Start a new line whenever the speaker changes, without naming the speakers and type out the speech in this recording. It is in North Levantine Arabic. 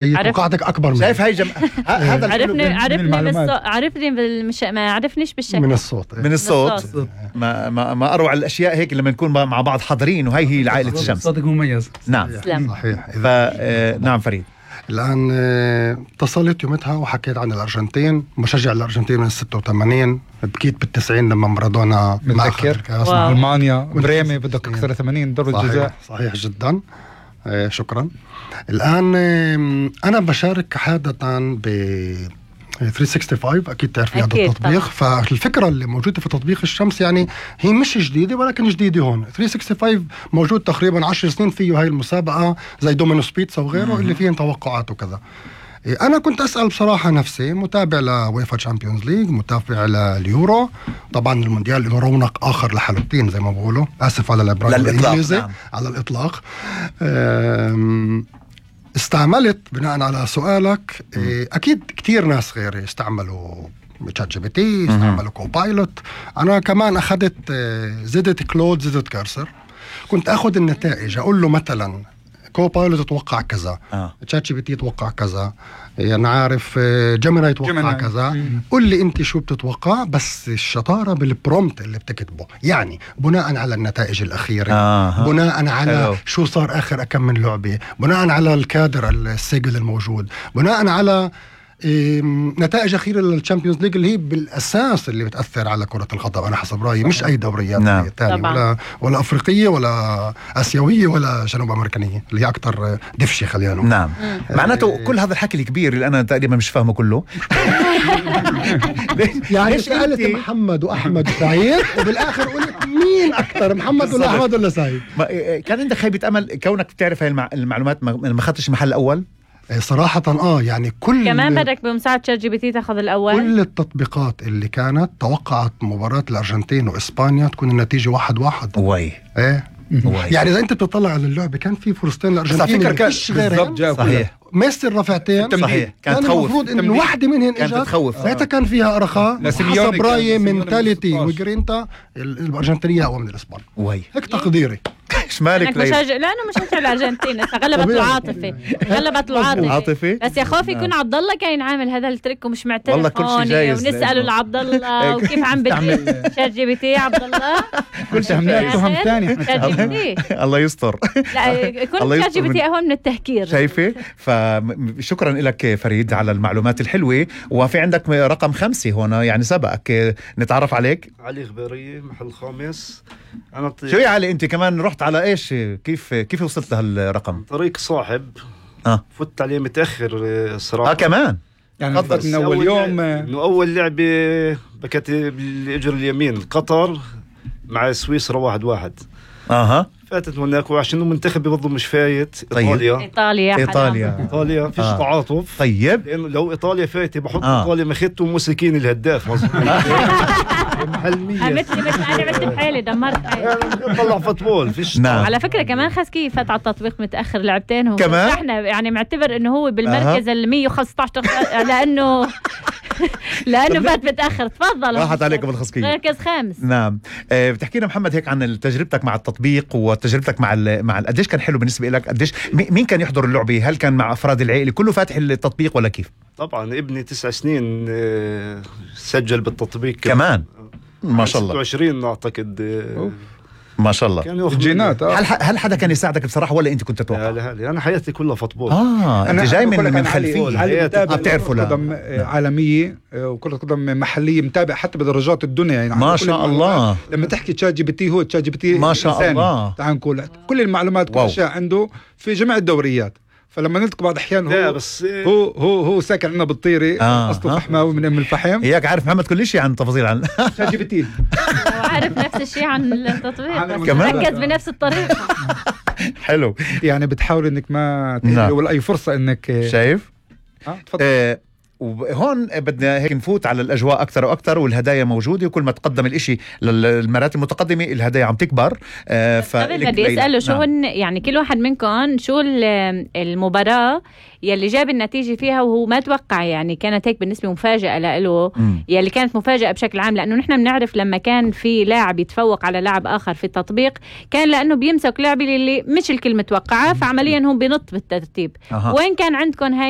توقعاتك اكبر من
شايف هاي هذا
عرفني ما عرفنيش بالشكل
من الصوت ما اروع الاشياء هيك لما نكون مع بعض حاضرين، وهي هي عائله الشمس.
صوتك مميز.
نعم
صحيح.
نعم فريد.
الآن اتصلت يومتها وحكيت عن الأرجنتين، مشجع الأرجنتين من 86، بكيت بال90 لما مارادونا
بتذكر ألمانيا بريمي بدك أكثر 80 دور الجزاء.
صحيح جدا. شكرا. الآن أنا بشارك عادة ب 365 أكيد تعرف هذا التطبيق. فالفكرة اللي موجودة في تطبيق الشمس يعني هي مش جديدة ولكن جديدة هون. 365 موجود تقريبا 10 سنين فيه هاي المسابقة زي دومينوس بيتزا وغيره اللي فيه توقعات وكذا. أنا كنت أسأل بصراحة نفسي، متابع لويفا تشامبيونز ليج، متابع لليورو، طبعا المونديال له رونق آخر لحلوتين زي ما بقولوا، آسف على الإبراج الإنجليزي على الإطلاق. استعملت بناء على سؤالك أكيد كتير ناس غيري استعملوا تشات جي بي تي، استعملوا كوبايلوت. أنا كمان أخذت زدت كلود، زدت كارسر، كنت أخذ النتائج أقول له مثلا كوبايلوت يتوقع كذا، تشات جي بي تي يتوقع كذا، يعني عارف جيميناي يتوقع كذا، قل لي انت شو بتتوقع. بس الشطارة بالبرومت اللي بتكتبه، يعني بناء على النتائج الأخيرة، بناء على شو صار آخر كم من لعبة، بناء على الكادر السجل الموجود، بناء على نتائج أخيرة للتشامبيونز ليج اللي هي بالأساس اللي بتأثر على كرة القدم. أنا حسب رأيي مش أي دوريات تانية ولا أفريقية ولا آسيوية ولا جنوب أمريكانية اللي هي أكتر دفشة خلينا نقول.
نعم. معناته كل هذا الحكي الكبير اللي أنا تقريبا مش فاهمه كله
يعني سألت محمد وأحمد وسعيد وبالآخر قلت مين أكتر، محمد ولا أحمد ولا سعيد؟
كان عندك خيبة أمل كونك بتعرف هاي المعلومات ما خدتش محل أول؟
صراحة يعني
كمان بدك بمساعدة شات جي بي تي تاخذ الأول.
كل التطبيقات اللي كانت توقعت مباراة الأرجنتين وإسبانيا تكون النتيجة 1-1. يعني إذا أنت بتطلع على اللعبة كان في فرصتين الأرجنتين مش غيرها.
صحيح.
ميسي الرفعتين
صحيح.
كان المفروض إنه واحدة منهن
كانت تخوف.
ساعتها كان فيها أرخاء حسب رايي منتاليتي وجرينتا الأرجنتينية أقوى من الإسبان. هيك تقديري.
مالك
لأنه مشجع الأرجنتين غلبت العاطفة بس يا خوفي يكون عبد الله كان عامل هذا التريك ومش معترف هون ونسأله لعبد الله وكيف عم بتعمل شات جي بي تي. عبد الله
كل شيء عملنا تهم ثاني
الله يستر.
لا يكون شات جي بي تي أهم من التهكير.
شايفة؟ فشكرا لك فريد على المعلومات الحلوة. وفي عندك رقم 5 هنا يعني سبقك، نتعرف عليك.
علي غبيري محل خامس.
شو يا علي انت كمان رحت على ايش؟ كيف وصلت لهالرقم؟
طريق صاحب. فت عليه متأخر صراحة.
كمان
يعني من أول يوم
إنه أول لعبة بكت بالإجر اليمين قطر مع سويسرا 1-1. فاتت هناك وعشان المنتخب برضه مش فايت. إيطاليا فيش تعاطف.
طيب
لأنه لو إيطاليا فايتة بحط إيطاليا مخيته ومسكين الهداف.
مثلي بحالي دمرت
طلع فوتبول فيش.
على فكرة كمان خسكي فات على التطبيق متأخر لعبتين
كمان
احنا يعني معتبر انه هو بالمركز 115 لأنه فات متأخر. تفضل.
راحت عليكم الخسكية.
مركز 5.
نعم. بتحكينا محمد هيك عن تجربتك مع التطبيق وتجربتك مع قديش كان حلو بالنسبة لك؟ قديش مين كان يحضر اللعبة؟ هل كان مع أفراد العائلة كله فاتح التطبيق ولا كيف؟
طبعا ابني 9 سنين سجل بالتطبيق
كمان ما شاء الله.
26 أعتقد.
ما شاء الله.
كان
جينات.
هل حدا كان يساعدك بصراحة ولا أنت كنت تتوقع؟
لا أنا حياتي كلها فوتبول.
أنت جاي من خلفية
بتعرفوا كرة قدم عالمية وكرة قدم محلية، متابع حتى بدرجات الدنيا يعني.
ما شاء الله.
لما تحكي تشات جي بي تي هو تشات جي بي تي
ما شاء الله.
تعال نقول كل المعلومات كل أشياء عنده في جميع الدوريات. فلما نلتقي بعض أحيان هو ساكن عندنا بالطيري أصله فحماوي من الفحم.
هيك عارف محمد كل شيء عن تفاصيل عن
شات جي بي تي.
وعارف نفس الشيء عن التطبيق بس ركز بنفس الطريقة.
حلو.
يعني بتحاول إنك ما تهدي ولا أي فرصة إنك
شايف.
تفضل.
وهون بدنا هيك نفوت على الأجواء أكتر وأكتر، والهدايا موجودة، وكل ما تقدم الإشي للمرات المتقدمة الهدايا عم تكبر.
بدي أسأله شو هن يعني كل واحد منكم شو المباراة يلي جاب النتيجة فيها وهو ما توقع، يعني كانت هيك بالنسبة مفاجأة له، يلي كانت مفاجأة بشكل عام، لأنه نحن بنعرف لما كان في لاعب يتفوق على لاعب آخر في التطبيق كان لأنه بيمسك لعبة اللي مش الكل متوقعة، فعمليا هم بينط بالترتيب. وين كان عندكم هاي